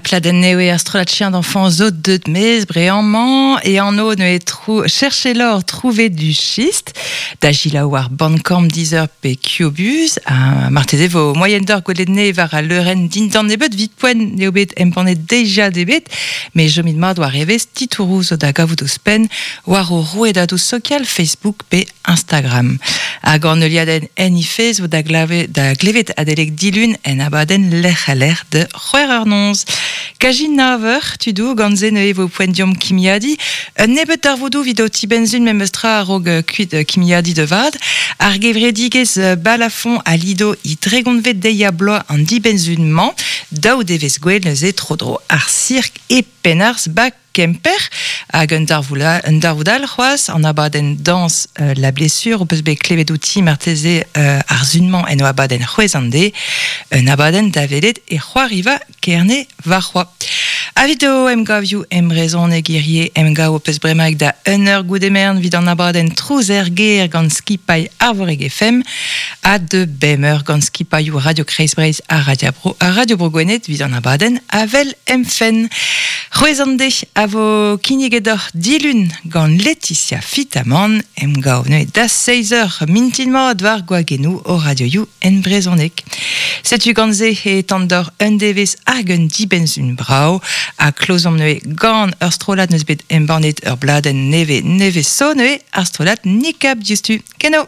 pladenn nevez ar strollad Chien d'enfant zo deut maez bremañ e anv neuze trou Cherchez l'or, trouver du schiste da selaou war Bandcamp, Deezer pe Qobuz ha marteze vo moaien deoc'h gwelet nez war al leurenn dindan nebeut 'vit poent n'eo bet embannet deiziad ebet met chomit mat war evezh titouroù zo da gavout ouzhpenn war o rouedadoù sokial Facebook pe Instagram. Hag an heuliadenn en he fezh vo da, da glevet adalek dilun en abadenn lec'h-ha-lec'h da c'hwec'h eur noz. Kaji nav eur, tudoù, gant se neuze vo poent deomp kimiadiñ. Un nebeud darvoudoù evit ho tibenn-sun memes tra a-raok kuit kimiadiñ da vat. Ar gevredigezh Balafon a lido he dregontvet deiz-ha-bloaz an dibenn-sun-mañ. Daou devezh gwell neuze tro-dro ar sirk e Penharz bak Kemper hag un darvoud all c'hoazh, an abadenn dañs La Blessure, ho peus bet klevet outi marteze ar sun-mañ en o abadenn C'hwezh an deiz, un abadenn da welet e c'hoariva Kerne warc'hoazh. Evit ho emgavioù embrezhoneg hirie, emgav ho peus bremaik da un eur goude merenn evit an abadenn Trouz er gêr gant skipailh Arvorig FM ha de bemp eur gant skipailhoù Radio Kreiz Breizh ha Radio Bro, ha Radio Bro Gwened evit an abadenn Avel em fenn. C'hwezh an deiz a vo kinniget deoc'h dilun gant Laetitia Fitamant, emgav neuze da seizh eur mintin mat war gwagennoù o radioioù en brezhoneg. Setu gant se e tan deoc'h un devezh hag un dibenn-sun brav ha klozomp neuze gant ur strollad n'eus bet embannet ur bladenn nevez nevez zo neuze ar strollad Nikab diouzhtu. Keno!